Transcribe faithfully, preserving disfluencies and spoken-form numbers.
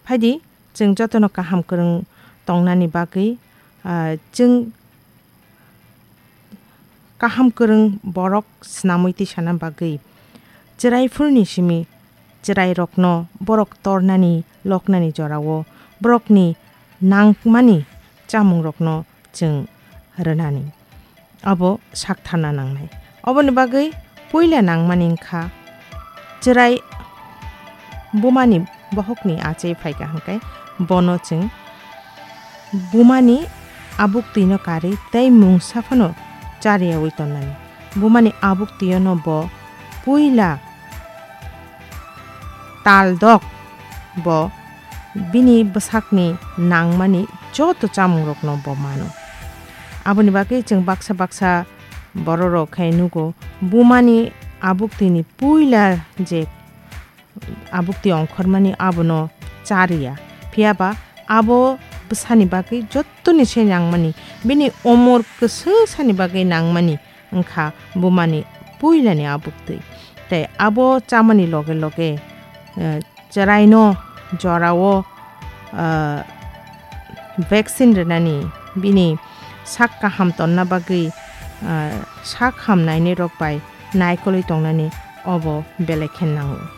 Phaidi, chwng jotono kaham kwrwng tongnani bagwi, ah, chwng kaham kwrwng borok swnamwi tisana bagwi chwraifurni simi chwrairokno borok tornani loknani jorao borokni nangmani chamungrokno chwng rwnani abo saktharna nangnai. Oboni bagwi puila nangmani wngkha chwrai bumani bohokni achai phaikha hwnkhe bono chwng bumani abuk twino karwi tei mungsa phano chariyaui tonnani. Bumani abuk twino bo puila taldok bo bini bwsakni nangmani joto chamungrokno bo mano. Aboni bagwi chwng baksa baksa bororok khai nugo, bumani abuk twini puila je abuk twi ongkhormani abono chariya. Phiyaba abo bwsani bagwi jottoni se nangmani, bini omor kwswsani bagwi nangmani wngkha bumani puilani abuk twi. Tei abo chamani loge loge, eh, chwraino jorao, eh, vaccine rwnani, bini sak kaham tonna bagwi, eh, sak hamnainirok bai naikolwi tongnani obo belai khe nango.